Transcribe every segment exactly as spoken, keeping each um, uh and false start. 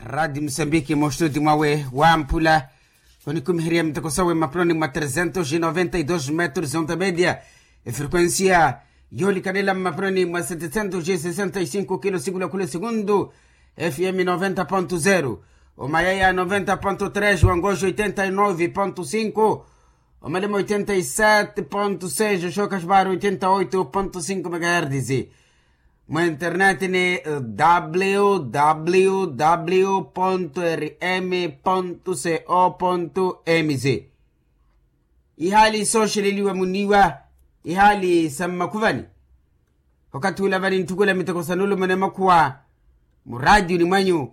Radi musambiki mustudi mwawe wamphula, onikumiherya miteko sawe mmapuloni mwa trezentos noventa y dos metros onta media, efrekuensia yoolikanela mmapuloni mwa setecentos sesenta y cinco kilo sikula khula segundu, fm noventa ponto zero, omayaya noventa ponto tres, wangoxo oitenta y nove ponto cinco, omalema oitenta y sete ponto seis, oxoka xiparo oitenta oito ponto cinco megahertis. Mwa internet ni www ponto rm ponto co ponto mz. Ihaali sooxeleliwa muniiwa, ihaali sa mmakhuvani. Okathi ula vani ntthukula miteko sa nulumana makhuwa muraatiyuni mwanyu,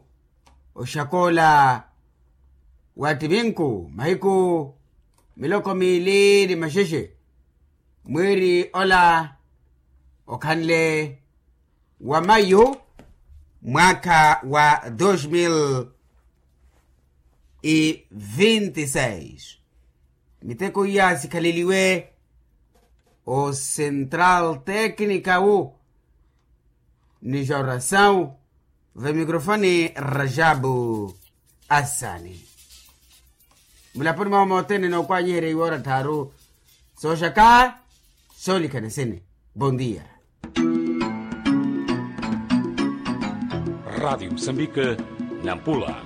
oxakoola wa ttiminku mahiku miloko miili ni maxexe, mwiiri ola okhanle wa mayu, mwaakha wa dos mil e vinte e seis. Miteko iya sikhaleliwe o central técnica wu ni jorasau. Vemicrofone rajabu asani. Mulaponi mwawe mothene nookwanyiherya iwoora tthaaru sooxaka soolikhana sene. Bon dia. Radiu musambike, nampula.